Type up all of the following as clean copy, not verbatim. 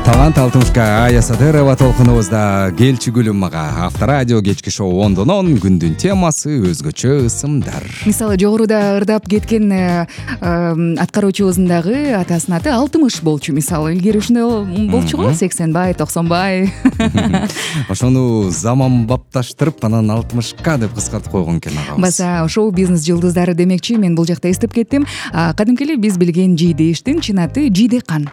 талант алтымышка Ая Садырова толкунубузда келчү күлүм мага. Авторадио кечки шоу 10-10 күндүн темасы өзгөчө ысымдар. Мисалы жогоруда ырдап кеткен аткаруучубуздун дагы атасынын аты Алтымыш болчу. Мисалы илгери ушундай болчу го, 80бай, 90бай. Ошону заман бапташтырып, анан 60ка деп кыскартып койгон экен агабыз. Баса шоу бизнес жылдыздары демекчи, мен бул жакта эстеп кеттим. Кадимки эле биз билген Жийдештин чын аты Жийдекан.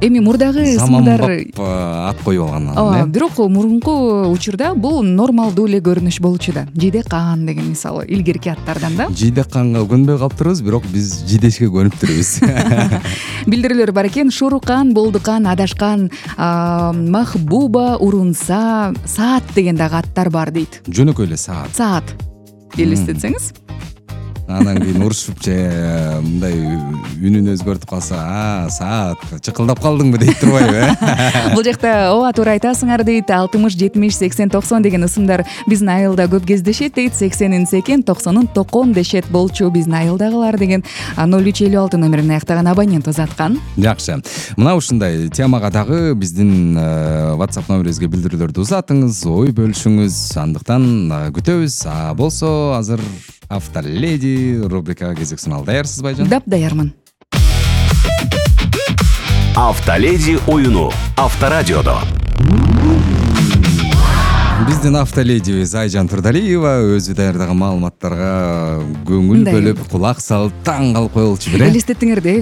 Эми мурдагы ысымдар ат коюп алган. Бирок мурунку учурда бул нормалдуу эле көрүнүш болчу да. Жийдекан деген мисалы илгерки аттардан да. Жийдеканга көнбөй калыптырбыз, бирок биз Жийдешке көнүп турбуз. Билдирүүлөр бар экен. Шурукан, Болдукан, Адашкан, Махбуба, Урунса, Саат деген дагы аттар бар дейт. Жөнөкөй эле Саат. Саат. Элестетсеңиз. Анан кийин урушуп же мындай үнүн өзгөртүп калса, Саат, чыкылдап калдыңбы дейт турбайбы? Бул жакта ооба туура айтасыңар дейт. 60, 70, 80, 90 деген ысымдар биздин айылда көп кездешет дейт. 80-ин секен, 90-ын токон дешет болчу биздин айылдагылар деген 0356 номерин аяктаган абонент узаткан. Жакшы. Мына ушундай темага дагы биздин WhatsApp номерибизге билдирүүлөрдү узатыңыз, ой бөлүшүңүз. Андыктан күтөбүз. Болсо азыр Автоледи рубрикага кезек суналды. Даярсыз байжан? Дап даярмын. Автоледи оюну Авторадиодо. Биздин Автоледибиз Айжан Турдалиева өзү даярдаган маалыматтарга көңүл бөлүп, кулак салып, таң калып коелучу бир. Элестеттиңер да,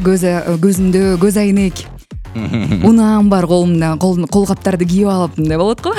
көзүндө көз айнек. Унаам бар колумда, колгаптарды кийип алып мындай болот го.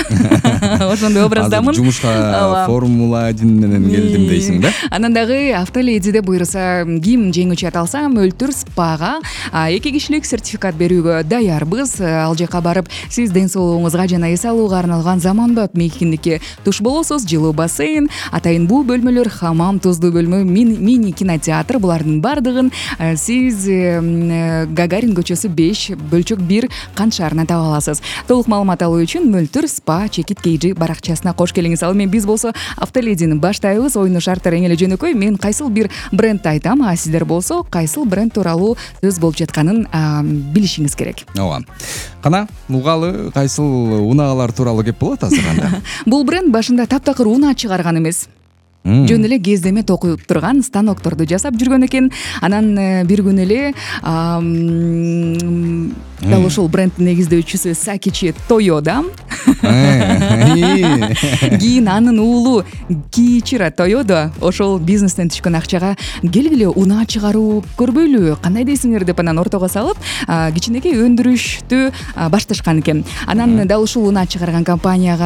Ошондой образдамын. Азыр жумушка Формула 1 менен келдим дейсиң да? Анан дагы Автоледиде буйруса ким жеңүүчү ат алса, Мөлтүр спага 2 кишилик сертификат берүүгө даярбыз. Ал жака барып, сиз ден соолугуңузга жана эс алууга арналган заманбап мейкиндикке туш болосуз. Жылуу бассейн, атайын буу бөлмөлөр, хамам, туздуу бөлмө, мини кинотеатр, булардын бардыгын сиз Гагарин көчөсү 5 бөлчөк 1 Кант шаарынан таба аласыз. Толук маалымат алуу үчүн Мөлтүр спа чекит KG баракчасына кош келиңиз. Ал мен биз болсо Автоледини баштайбыз. Оюну шарттары эң эле жөнөкөй. Мен кайсыл бир брендти айтам, а сиздер болсо кайсыл бренд тууралуу сөз болуп жатканын билишиңиз керек. Ооба. Кана угалы кайсыл унаалар тууралуу кеп болот азыр анда? Бул бренд башында таптакыр унаа чыгарган эмес. Жөн эле кездеме токуп турган станокторду жасап жүргөн экен. Анан бир күн эле дал ушул брендтин негиздөөчүсү Сакичи Тойода кийин анын уулу Кичиро Тойода ошол бизнестен түшкөн акчага келгиле унаа чыгаруу көрбөйлү, кандай дейсиңер деп анан ортого салып, кичинекей өндүрүштү башташкан экен. Анан дал ушул унаа чыгарган компания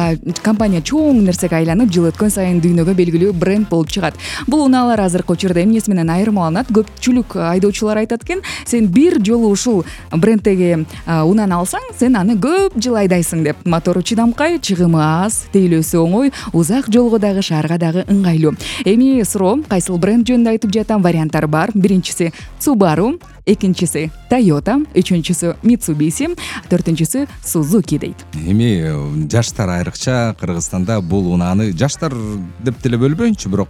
чоң нерсеге айланып, жыл өткөн сайын дүйнөгө белгилүү бренд болуп чыгат. Бул унаалар азыркы учурда эмнеси менен айырмаланат? Көпчүлүк айдоочулар айтат экен, сен бир жолу ушул брендтеги унааны алсаң, сен аны көп жыл айдайсың деп. Мотору чыдамкай, чыгымы аз, тейлөөсү оңой, узак жолго дагы, шаарга дагы ыңгайлуу. Эми суроо, кайсыл бренд жөнүндө айтып жатам? Варианттар бар. Биринчиси Subaru, экинчиси Toyota, үчүнчүсү Mitsubishi, төртүнчүсү Suzuki дейт. Эми жаштар айрыкча Кыргызстанда бул унааны жаштар деп деле бөлбөйүнчү, бирок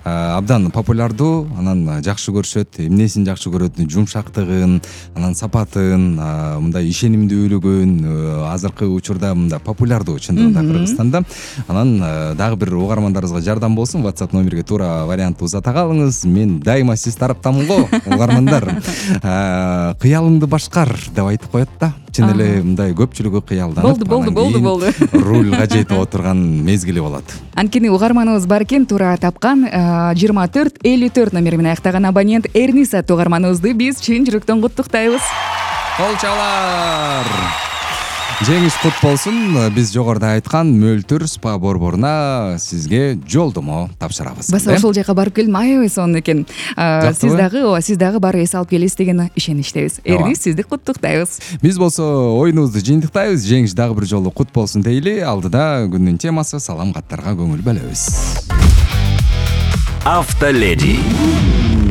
абдан популярдуу, анан жакшы көрүшөт. Эмнесин жакшы көрөт? Жумшактыгын, анан сапатын, мындай ишенимдүүлүгүн, азыркы учурда мындай популярдуу чындыгында Кыргызстанда. Анан дагы бир угармандарыбызга жардам болсун, WhatsApp номерге туура вариант узата калыңыз. Мен дайыма сиз тараптамын го, угармандар. Кыялыңды башкар деп айтып коет да. Чын эле мындай көпчүлүгү кыялданып, болду. Рульга жетип отурган мезгили болот. Анткени угарманыбыз бар экен, туура тапкан 2454 номери менен аяктаган абонент Эрниса угарманыбызды биз чын жүрөктөн куттуктайбыз. Кол чалар. Жеңиш кут болсун. Биз жогоруда айткан Мөлтүр спа борборуна сизге жолдомо тапшырабыз. Баса ошол жака барып келдим, аябай сонун экен. Сиз дагы барып эс алып келесиз деген ишеничтебиз. Эрнис, сизди куттуктайбыз. Биз болсо оюнубузду жыйынтыктайбыз. Жеңиш дагы бир жолу кут болсун дейли. Алдыда күндүн темасы салам каттарга көңүл бөлөбүз. Автоледи.